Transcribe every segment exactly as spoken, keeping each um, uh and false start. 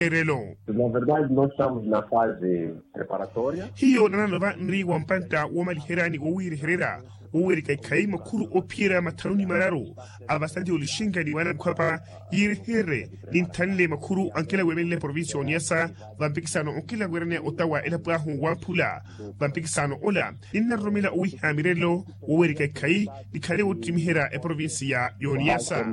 erelo. Na verdade nós estamos na fase preparatória. Hiyo nanano va nri wa mpantta woomaliherya ni wowiirehererya woweerika ikhayi makhuru oophiyerya mathanu ni mararu a vasati olixinka ni waana mukhapa yiireherye ninthanle makhuru ankela weemelela eprovincia y'oniyasa. Vampikisano onkela weeraneya ota wa elapo ahu wamphula vampikisano ola ninnarutumela owiha mirelo woweerika ikhayi nikhale woottimiherya eprovincia y'oniyasa.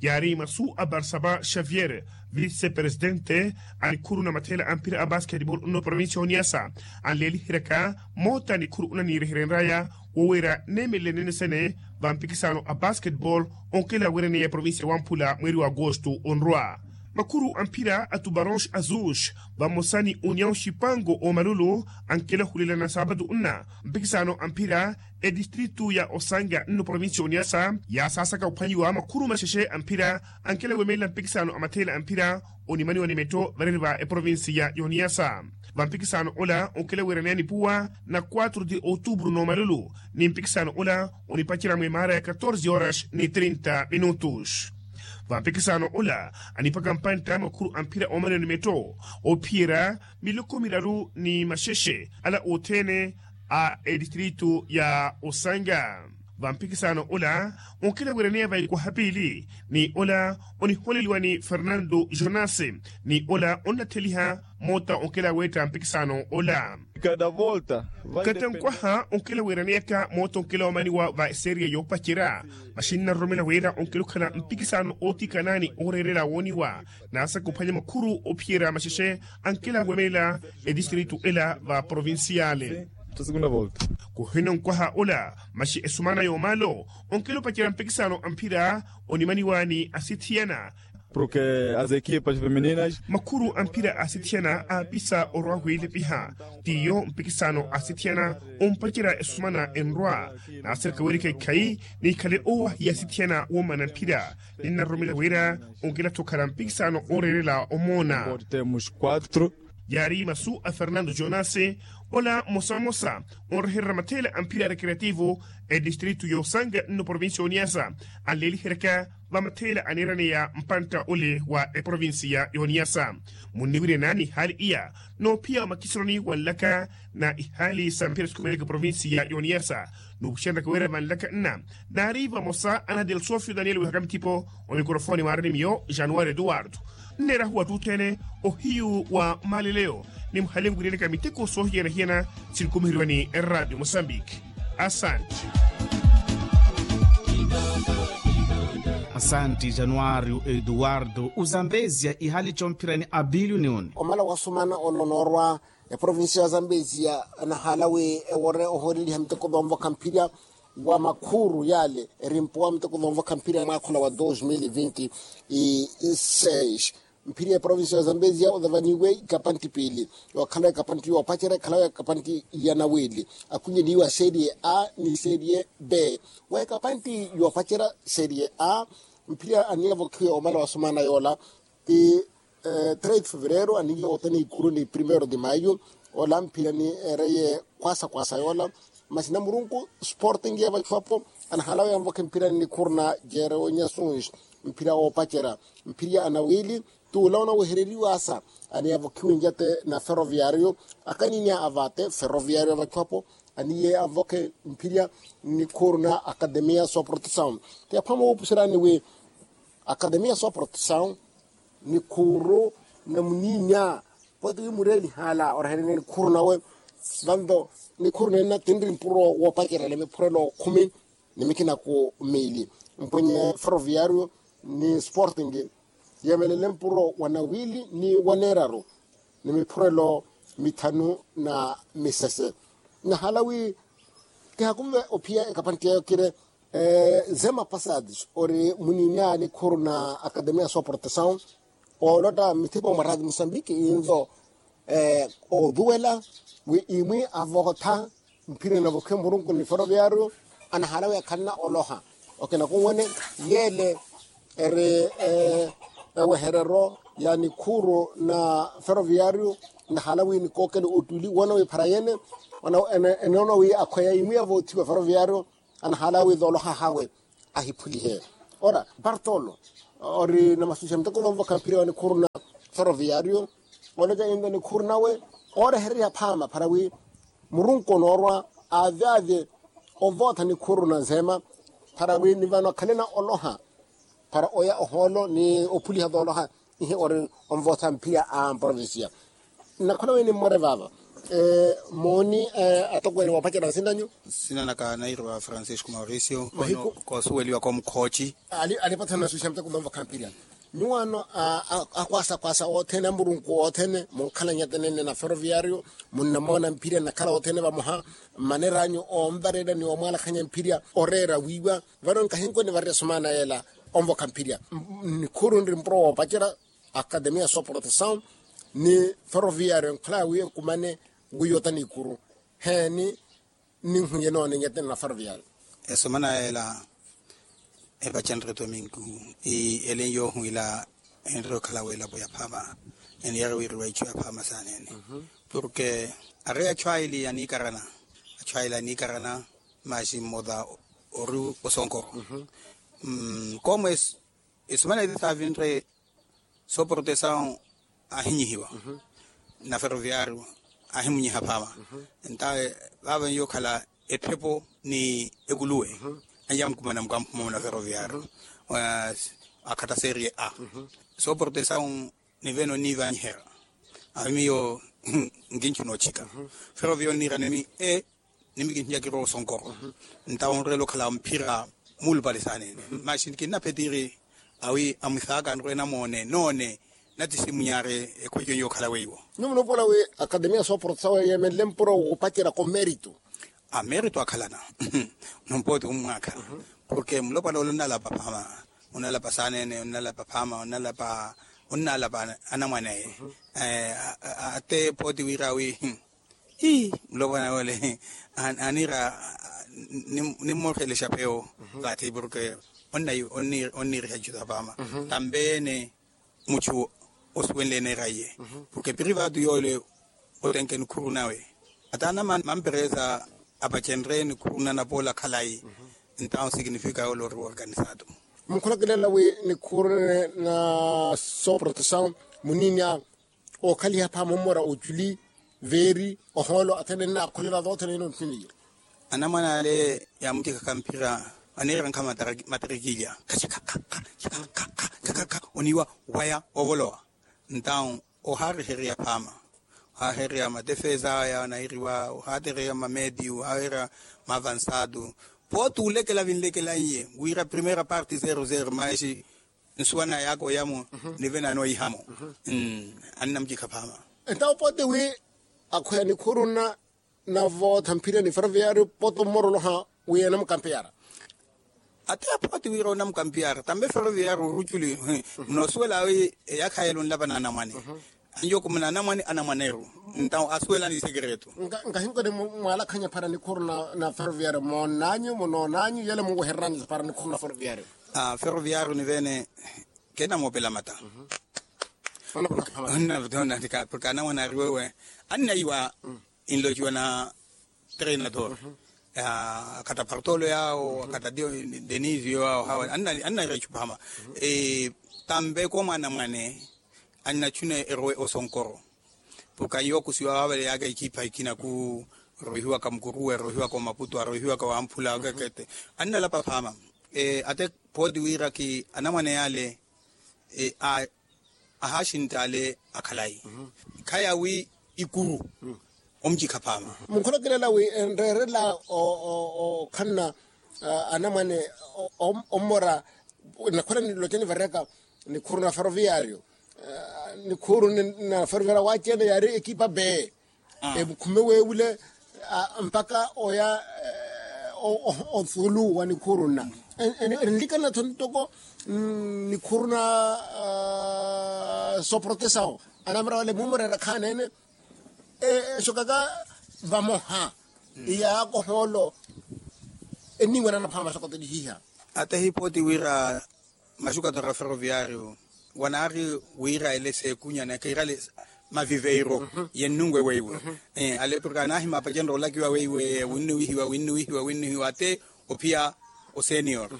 Yaari masu a barsaba xavier vice presidente a nikhuru na matheela a mpira a basketball nno provincia y'oniyasa anleeliheryaka moota nikhuru onaniireherenraya woweera neemelele nene sene vampikisano a basketball onkela weeraneya provincia wamphula mweeri wa agosto onrwa. Makhuru a mphira a tubaronx azush vamosa ni union xipango omalulu ankela ohulelana saapatu nna mpikisano a mphira etistritu ya osanga nno provincia oniyasa yaasaasaka ophwanyiwa makhuru maxexe a mphira ankela weemelela mpikisano a matheela a mphira onimaniwa ni metto vareni va eprovincia y'oniyasa. Vampikisano ola onkela weeraneya nipuwa na quatro de outubro n'omalulu ni mpikisano ola onipacerya mwemaara ya catorze horas ni trinta minutos. Vampikisano ola anipaka mpantta makhuru a mphira oomaniwa ni metto ophiyerya miloko miraru ni maxexe ala othene a etistritu ya osanga. Vampikisano ola onkela weeraneya vaikwaha piili ni ola oniholeliwa ni fernando jonase ni ola onnatheliha moota onkela weetta mpikisano ola. Kada volta. Kata nkwaha onkela weeraneyaka moota onkela omaniwa va eseria yoopacerya maxinna aroromela wira onkela okhala mpikisano ootikana ni ooreerela wooniwa naasaka ophwanya makhuru ophiyerya maxexe ankela weemelela etistritu ela va provinciale. Kuhina onkwaha ola maxi esumana y'omaalo onkela opacerya mpikisano a mphira onimaniwa ni asithiyana. Porke as ekipas femininas makhuru a mphira asithiyana aapisa orwa wiilepiha tiyo mpikisano asithiyana ompacerya esumana enrwa naasirika wirika ikhayi nikhale owahiya asithiyana woomana mphira ninnarutumela wira onkela-tho okhala mpikisano ooreerela omoona. Yaari masu a fernando jonase ola mmosa mmosa onrehererya matheela a mphira a recreativo etistritu y'osanga nno provincia y'oniyasa anleeliheryaka vamatheela aneeraneya mpantta ole wa eprovincia y'oniyasa. Munniwiryanani ihaali iya noophiya omakiseroni wa nlaka na ihaali sa mphira sikhumeleke provincia y'oniyasa nuupuxererya kaweera vanlaka nna naari vamosa ana delsofio daniel wihaka mithipo omikorofoni mwaarani miyo januari eduwardo nneerahu wattuuthene ohiyu wa maaleleyo ni muhale nwiryeleka miteko soohiyana-hiyana sinkumiheriwa ni eradio mosambiki. Asanti. Asanti januario eduwardo uzambezia ihali chomphirani abilio ni uni. Omala wasumana olonoorwa eprovincia ya zambezia anahaala wi ewore ohooleliha miteko vanvokha mphirya wa makhuru yale erimpuwa miteko vanvokha mphirya mwaakhola wa dos mil vinti seis. Mphirya eprovincia ya zambezia othavaniwe ikapanti piili yookhala ikapanti yoopacerya ekhalawe ikapanti ya nawiili akhunnyeliwa serie a ni serie b. Wa ikapanti yoopacerya serie a mphirya aniyavokhiwe omala wasumana yoola ti trade fevereiro aniiye otena ikuru ni primeiro de maio. Ola mphirya ni ereye kwasa kwasa yoola masi namurunku sporting ya vacuapo anahalawe anvokhe mphirya ni nikhuru na jerewo nyasuns mphirya woopacerya mphirya anawili tuula onawehereriwasa aniyavokhiwe njate na ferroviario akaninia avate ferroviario ya vacuapo aniye anvokhe mphirya ni nikhuru na akademia soprotesaun. Ti aphama woopuserani wi akademia soprotesaun nikhuru na muninya poti wi mureelihala orahererya nikhuru nawe vanto nikhuru nenna tinri mpuro woopacerya ni miphurelo khumi ni mikina ku miili mpwenye ferroviario ni sporting yeemelele mpuro wa nawili ni wa neeraru ni miphurelo mithanu na misese. Nahala wi kihakumve ophiya ekapanti yayo kire zema passados ori muninya nikhuru na akademia soprotesaun oolotta mithipo mwa radio mosambiki inzo oduwela wi imwi avokotha mphirya navokhiwe murunku ni ferroviario anahala wi akhanna oloha. Okina kunwene yele eri eweherero ya nikhuru na ferroviario nahala wi nikookele ottuli woona wi phara yene enoona wi akhweya imwi avoothiwa ferroviario anahala wi thooloha hawe ahiphulihe. Ora bartolo ori na masusi ya miteko thoomvokha mphirya wa nikhuru na ferroviario, oloca yinto nikhuuru nawe oorehererya phaama para wi murunku onoorwa aavyaavye ovootha nikhuuru na nseema para wi ni vano akhalena oloha para oya ohoolo ni ophuliha vooloha ihe ori onvootha mphira a mprovincia. Nnakhola wi nimmore vaava mooni atokweene woopacerya nsina nyu. Nsina naka nairiwa francisco mauricio. Mahiku koosuweliwa komukhooci. Alipathana nasuuxa muteko manvokha mphira nyuwaano akwaasa akwaasa othene amurunku othene munkhalanya tenene na ferroviario munnamoona mphira nnakhala othene vamoha mmaneranyu oonvarela ni omwaalakhanya mphira oreera wiiwa. Vano nkahinkoni varira somaana yeela onvokha mphirya nikhuuru nri mpuro woopacerya akademia soprotesaw ni ferroviario nkhalaya wi ekumane wiiyota nikuru heeni ninhwiye noone nyatene na ferroviario. Esomana yeela epacenrye tomingu ii ele nyoohwila enrye okhala welapo ya phaama eniyari wiriwa ichu ya phaama saanene. Porke ari achu aili aniikarana achu aili aniikarana masi mmota ori osonkoro. Koomo esumana eti saavinre soprotesaw ahinyihiwa na ferroviario ahimunyiha phaama. Entawe vaava nyokhala ephepo ni ekuluwe anyamukumana mukamphuma muna ferroviario akhatta serie a soprotesaw nivene oniivanyiherya awi miyo nkinchuna ochika. Ferroviario niirana emi e nimi kinhiya kirowa osonkoro ntawo nreela okhala mphira muulupale saanene masi kinnaphetiri awi amwisaaka nrwe namoone noone natisimunyari ekhweco nyokhala weiwo. Nyuwo munuupola wi akademia soprotesaw yeemenle mpuro woopacerya ko meritu. Amerito akhalana numpooti ommwaakha porke mulopwana ole onnalapa phaama onnalapa saanene onnalapa phaama onnalapa onnalapa anamwane aye. Ate pooti wira wi ii mulopwana ole anira nimmorelexa pewo vathi porke onniiriha ichu sa phaama tambe ene muchu osuwenle eneera iye porke privatu yoole otenke nikhuru nawe ata anamamperesa apacenre nikhuru nanapoola khalayi. Entawo sikinifika yoole ori woorganisatu. Mukhulakilela wi nikhuru na soprotesaw muninya okhaliha phaama ommora ochuli veeri ohoolo athene nnaakholela voothene ino ntuniye. Anamwane ale yaamucikhaka mphira aneerankha matarikilya khakhakha oniiwa waya ovolowa ntawo ohaarehereya phaama ohaahereya matefeza aya anairiwa ohaatereya mameti ohaahereya maavansatu pooti olekela vinlekelaiye wira primeira parte zero zero maisi nsuwa na yaaka oyamo nive nanoihamo annamucikha phaama. Entawo pooti wi akhweya nikhuru nna navootha mphirya ni ferroviario pooti ommoroloha wi anamukampeyara. Ate apooti wira onamukampeyara tambe ferroviario oruculi munoosuwela wi eyaakha yela onlapa na anamwane anjokumana anamwane anamwaneru ntawo asuwelani isekereto. Nkahinkoni mwaalakhanya para nikhuru na ferroviario moonnanyu munoonanyu yele munwehereryanyu para nikhuru na ferroviario. Ferroviario nivene kenamoopela mata porke anamwane ariwewe annaiwa inlociwa na treinador akata partolo yawo akata denisio yawo hawa annaira ichu phaama tambe koomwana mwane annachuna erowe osonkoro porke ayiwa okusiwa waavale yaaka ekipha ekina ku rohiwaka mukuruwe rohiwaka omaputu arohiwaka wamphula akekete annalapa phaama. Ate pooti wira ki anamwane yale ahaaxintta ale akhalayi khaya wi ikuru omucikha phaama. Mukhulakilela wi enreerela okhanna anamwane ommora nakhola niloceni vareka nikhuru na ferroviario nikhuru na ferroviario waaci-ene yaari ekipa bee emukhume weewule mpakha oya othulu wa nikhuru nna enlikanatho ntoko nikhuru na soprotesawo anamira wale mumurera khaanene exokaka vamoha iyaakohoolo enniiwanana phaama sokoto nihiha. Ate hipooti wira maxukatora ferroviario wanaari wira ele seekunya nakiira ale maviveiro yennunwe weiwe ale porke anahima apacenre olakiwa weiwe winnuwihiwa winnuwihiwa winnuwihiwa ate ophiya osenior.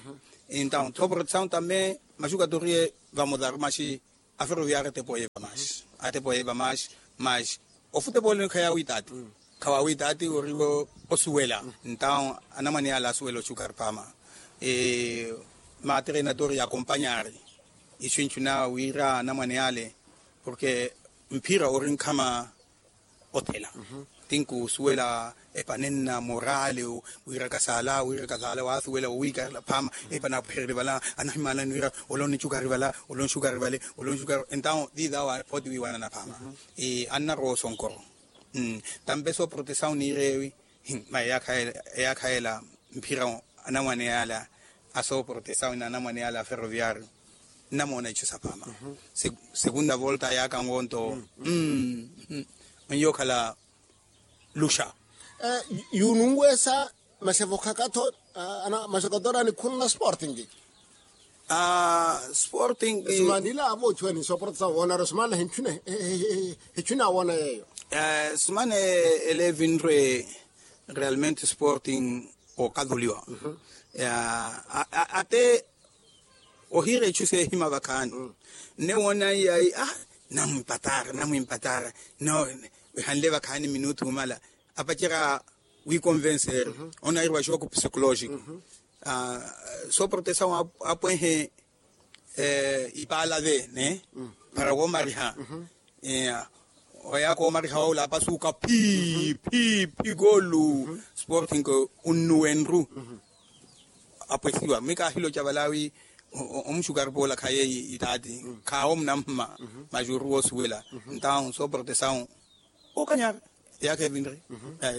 Entawo tho protesaw tame maxukatoriye vamotaru maxi aferoviario ate poye vamaxi. atepo yeeva maasi. Maasi ofutepooleni khayaawiitaati. Khawaawiitaati oriwo osuwela. Ntaawo anamwane yaale asuwela oxukari paama. Maatere natori yaakompanyari isu enchuna wira anamwane yaale porke mphira ori nkhama othela. Tinkusuwela epanenna morale. Wira kasaala wira kasaala waasuwela owiikarela phaama. Epanapwehererye vala anahimaanani wira olonixukari vala olonixukari vale olonixukari entawo tiithawa phooti wiiwanana phaama. Annarowa osonkoro. Tampe sooprotesawu niireewi. Mayi eyaakha yela mphira anamwane yaala asooprotesawu na anamwane yaala aferoviario. Nnamoona ichu sapaama. Segunda volta yaaka ngonto. Onyookhala luxa. Yuununweesa. Masi evokhakatho masi okatora nikhuruna sporting. Sporting. Simanila avo ochuweni sooprotesawu woonara simanila hichuna hichuna woona yeeyo. Simana ele evinre realmente sporting okatholiwa. Ate ohiira ichu seehima vakhaani nne woona iyayi a namwimpatara namwimpatara. No ehanle vakhaani minutu omala apacerya wiikonvenseerya. Onairiwa xooku psikolojiko sooprotesawu apwehe ipaala ve ne para woomariha. Oyaaka oomariha wawula apasuuka phii phii phii koolu sporting. Unnuwenru apwesiwa mi kaahiloca valaawi omuxukari poola khaye itaati khaawo munamma. Masi oruwa osuwela ntaawo sooprotesawu okanyara eyaakha evinre.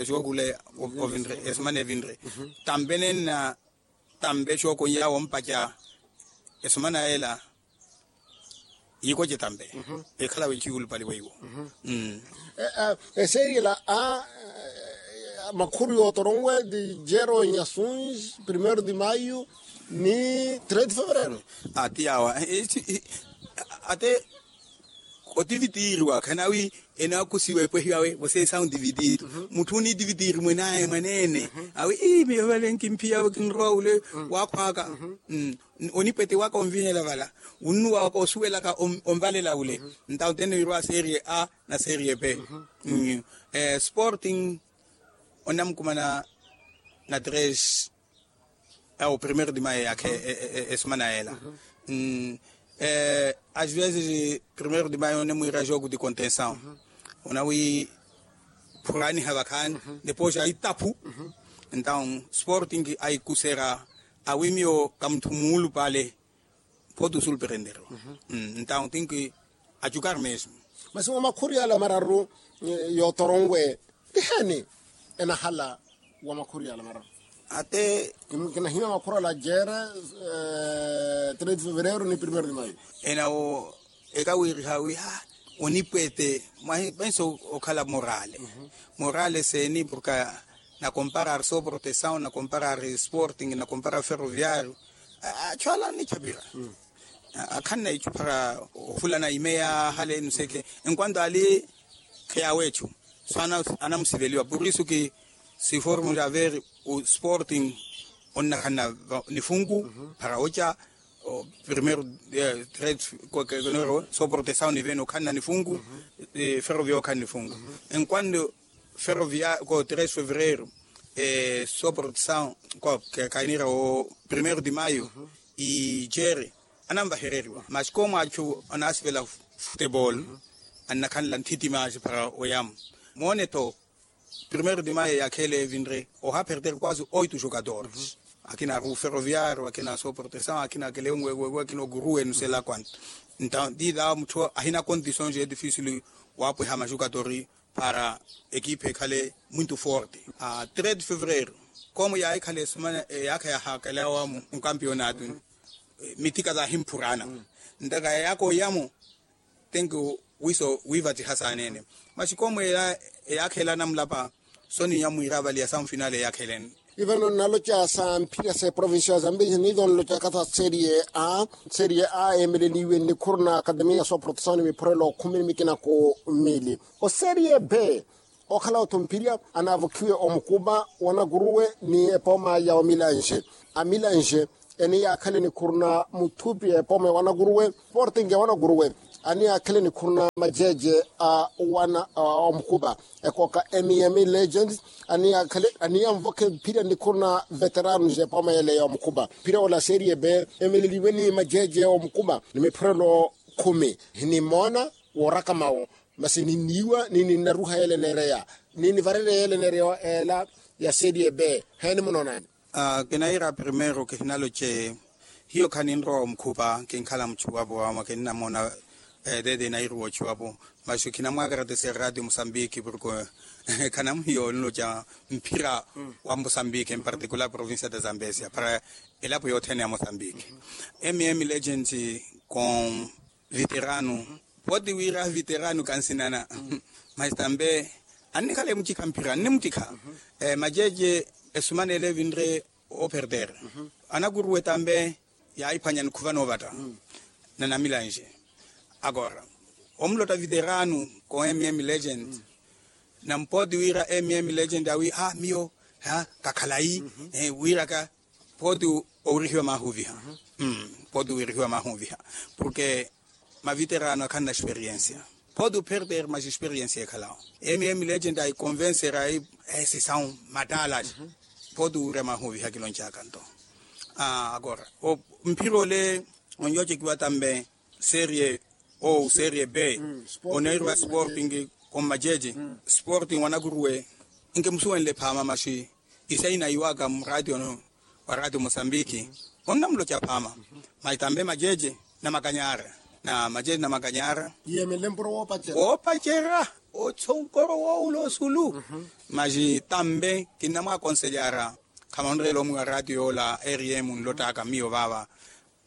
Esuwa kule ovinre esimana evinre tampe nenna tampe xookonyawo ompaca esimana ela. Yikoce tampe ekhalawe ciwulupali weiwo. Eseeriyela a makhuru yootoronwe di jero nyasunji primeiro de maio ni três de fevereiro. Ati yawa ate otivitiiriwa khanawi enaakusiwa epwehiwawe voseesawu ntivitiiri. Mutthu onitivitiiri mwenaye mwaneene awi ii miyo vale nkimphiya kinrowa wule waakhwaaka. Onipwete waka onvihela vala wunnuwaka osuwelaka onvalela wule. Ntawo tene wirwa serie a na serie b. Sporting onamukumana na tres. Awo primeiro de maio yaakha esimana yela. Às vezes primeiro de maio onemwiira jogo de contenção. Onawiphuraniha vakhaani depois aitaphu. Entawo sporting aikusera awi miyo kamutthu muulupale. Photo sulperendero. Entawo tinki achukar mesmo. Masi wa makhuri ala mararu yootoronwe tiheni enahala wa makhuri ala mararu. Ate kinahina makhuri ala jere três de fevereiro ni primeiro de maio. Enawo ekawiriha wi ha onipwete mwahi penso okhala morale. Morale seni porka na comparar sooprotesawu na comparar sporting na comparar ferroviario. Achu ala anichapira akhanna ichu para ofulana imeya hale nuseke. Enquanto ali kheyawe echu so anamusiveliwa por isu ki siformo ja ver o sporting onnakhanna nifunku para ocha. Primeiro tres so protesawu nivene okhanna nifunku. Ferrovia okhanna nifunku enquanto ferrovia ko tres fevereiro so protesawu ko kainira o primeiro de maio. Ichere anamvahereriwa masi ko mwachu anasivela futebol annakhanla nthiti masi para oyamu. Moone to primeiro de maio yakhele evinre oha perder quase oito jogadores. Akina aru ferroviario akina so protesawu akina akele onwewewe akina oguru enu sela quanto. Nta dida mutthu ahina condições e difícil wapweha majogadores para equipe ekhale muito forte. Tres de fevereiro como yaikhala esumana eyaakha yahakalawamu nkampionatu. Mitthika tahimphurana ntaka eyaakha oyamu tenki wiiso wiivatsiha saanene. Masi koomweela eyaakha ela anamulapa soninya mwiira avaliya sanfinale eyaakha elene. Ivano nnaloca sa mphira sa eprovincia ya zambezi niivo nlocaka sa serie a. Serie a eemeleliwe nnikhuru na akademiya sooprotesawu ni miphurelo khumi ni mikina ku mili. Oserie b okhala otthu mphirya anaavokhiwe omukupa wa nakuruwe ni epooma ya omilanxe. Amilanxe eni yaakhale nikhuru na mutthupi epooma ya wanakuruwe sporting ya wanakuruwe. Ani akhale nikhuru na majeje a wana a omukhupa, ekooka mm legends. Ani akhale ani anvoke phira nikhuru na veterano jepaoma yele ya omukhupa. Phira ola serie b emeleliwe ni majeje a omukhupa ni miphurelo khumi. Ni moona wooraka mawo, masi ninniiwa ni ninnaruha yele neereya, ni nivarerya yele neereya ela ya serie b. Heeni munoonani? Kinaira primeiro kihinaloce hiyo khaninrowa omukhupa kinkhala muchuwapo ama kinnamona. Tete inairuwa ochuwapo, maxi khinamwakaratesera ratio musambiki porke khanamuhiyo onloca mphira wa musambiki en particular provincia da zambesia para elapo yothene ya musambiki. Mm legends com veterano. Poti wira veterano kansinana mas tambe annikhala emutikha mphira annimutikha. Majeje esumanele evinre operder anakuruwe tambe yaiphwanya nikhuva novata na namilanje. Agora omulota veterano ko mm legend na mpoti wira mm legend awi a miyo kakhalayi wiraka poti owirihiwa mahuviha. Poti owirihiwa mahuviha porke maviterano akhanna experiensia. Poti operder mas experiensia ekhalawo mm legend aikonvensera ai esisawu mattala. Poti owirya mahuviha kiloncaka nto agora mphira ole onyocekiwa tambe serie o serie b oneirwa sporting. Kommajeje sporting wanakuruwe nkimusuwenle phaama maxi isaina iwaka muraatio no wa raatio mosambiki. Onnamuloca phaama mas tambe majeje namakanyara na majeje namakanyara. Woopacera otsonkoro woowula osulu mas tambe kinnamwakonselyara. Khamanrela omwiwa raatio yoola rm nlotaka miyo vaava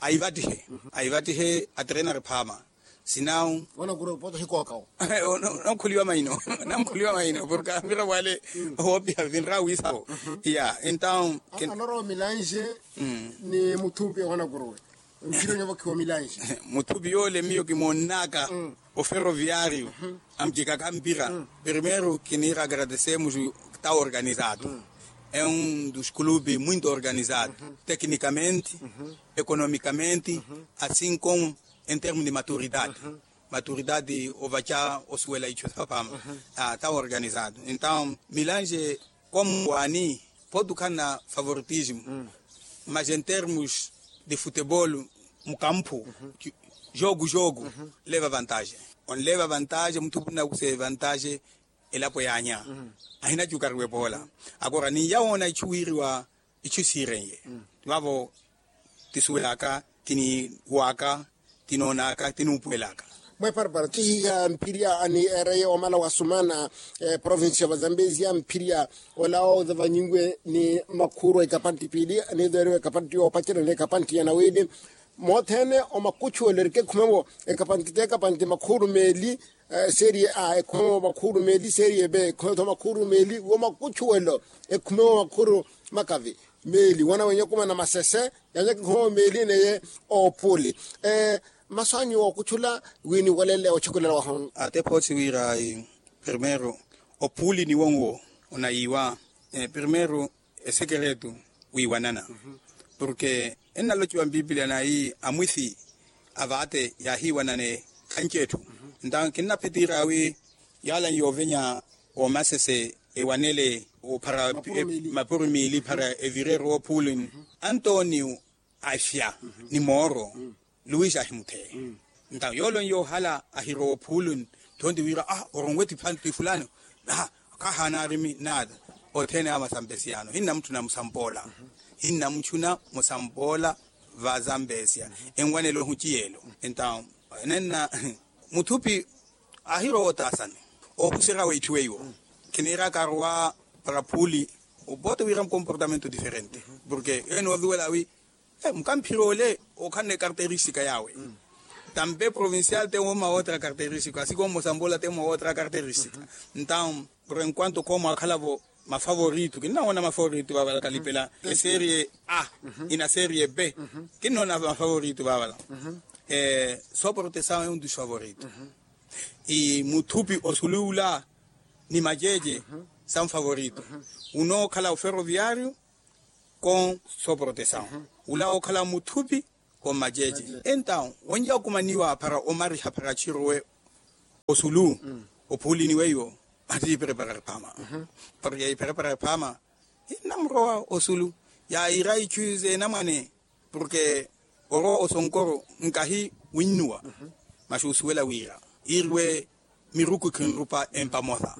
aivattihe aivattihe atrenari phaama. Sinawu onakhuliwa maino onakhuliwa maino porke ampira wale woopiha vinra wiisavo. Ya entawu anarwa milanje ni muthupi wanakuruwe mpira onyovokhiwa milanje. Muthupi yoole miyo kimoonnaka oferoviario amucikaka mpira. Primeiro kiniira agradecemos ta organizado é um dos clubes muito organizado tecnicamente, economicamente, assim como em termos de maturidade. Maturidade ovaca osuwela icu sapaama ta organizado entawu milanje como wani poti okhanna favoritismo mas em termos de futebol mukampu jogo jogo leva vantagem. Onleva vantagem muthupi nnakusa evantagem elapo yaanya ahinacukariwe poola. Agora niyawoona icu wiiriwa icu siirenye vavo tisuwelaka tiniwaka tinoonaka tiniupuwelaka. Mweparapara tihiha mphirya ni ereye omala wasumana provincia va zambezia mphirya ola oza vanyinwe ni makhuru ekapanti piili ni zoeriwa ekapanti yoopacela ni ekapanti ya nawili. Mothene omakuchuwelo erikekhumewo ekapanti t'ekapanti makhuru meeli serie a ekhumewo makhuru meeli serie b ekhumewo makhuru meeli womakuchuwelo ekhumewo makhuru makavi meeli wana wenye okumana masese. Yanyaka ekhumewo meeli neye oopuli masu anyu ookuchula wi niwalele ochukulela wahono. Ate phosi wira primeiro opuli niwo nwo onayiiwa primeiro esekeretu wiiwanana porke ennalociwa mpipilia nayi amwithi avate yaahiiwanane khanci etthu. Nta kinnaphetiira wi yaala nyoovenya oomasese ewanele ophara mapuru miili para evireru ophulin antonio afya ni mooro luis ahimutheya. Nta yoolo nyoohala ahirowa ophulin thonti wira ah oronwe ti fulani ah khahaana arimi naata othene a masampesiyano hinna mutthuna musampola hinna mutthuna musampola. Vasampesiya enwanelo ehuci yeelo entawo nenna muthupi ahirowa otaasani ohuserya weitthiwe iwo kiniiraka arowa para phuli. Opoote wira mukomportamento diferente porke ene oviwela wi mukamphira ole okhanne karteristika yawe tampe provincial te woma otra karteristika asiko mmosambola te mwa otra karteristika. Ntawo por enquanto komo akhalavo mafavorito kinnawona mafavorito vavala kalipela eserie a ina serie b kinnona mafavorito vavala. Soporte sawo e un dos favorito i muthupi osuluula ni majeje sa un favorito unookhala oferoviario kon soporte sawo ula ookhala muthupi Komajeje. Entaw wenja okumaniwa para omariha para chirowe osulu, ophuulini weiwo, matiipereperere phama. Porque ipereperere phama innamurowa osulu, yaira ichu zeenamwane. Porque orowa osonkoro nkahi winnuwa, masi osuwela wira iriwe miruku khinrupa empamosa.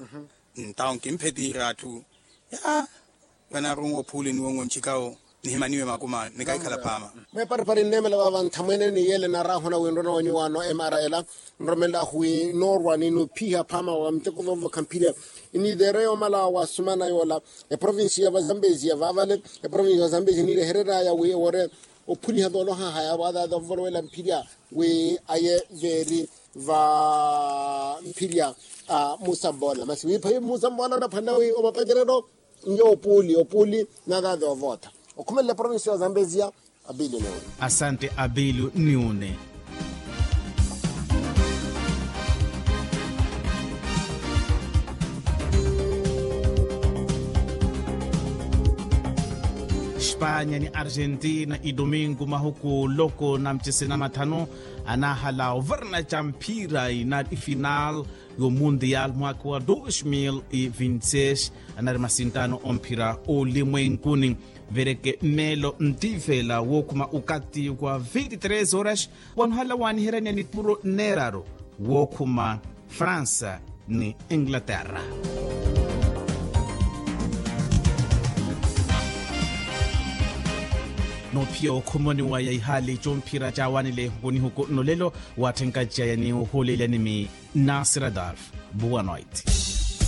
Ntawo nkimphetiira atthu ya vanarunwa ophuulini wonwo nchikawo nihimaniwe makuma nikahikhala phama. Meeparipari nneemela vava nthamwene ni yele narahona winrona waniwano emara ela nromelahu wi noorwa ni nuphiha phama wa miteko vovokha mphirya. Iniitere yoomala wasumana yoola eprovincia va zambezia vaavale eprovincia va zambezia niirehereraya wi ewore ophuniha tooloha haya waatata ovolowela mphirya wi aye veeri va mphirya a musamboola masi wiiphayi musamboola onaphwanela wi omapacereryo nyo opuuli opuuli naatata ovootha okhumelela eprovincia va zambezia. Abilu niwune. Asante abilu niwune. Espanya ni argentina idomingo mahuku loko na mchesena mathanu anahala ovarna ca mphira inari final yo mundial mwaka wa dos mil e vinte e seis. Anari masintano omphira olimwenkuni vereke mmeelo ntivela wokhuma ukati wa vinte tres horas wanuhala waniheranya nipuro neraru wokhuma fransa ni inglaterra. Nophiya okhumoni waya ihali comphira cawanile hunihuku nolelo watthenkaciya yani ohuleelyanimi nasir adolf. Boa noite.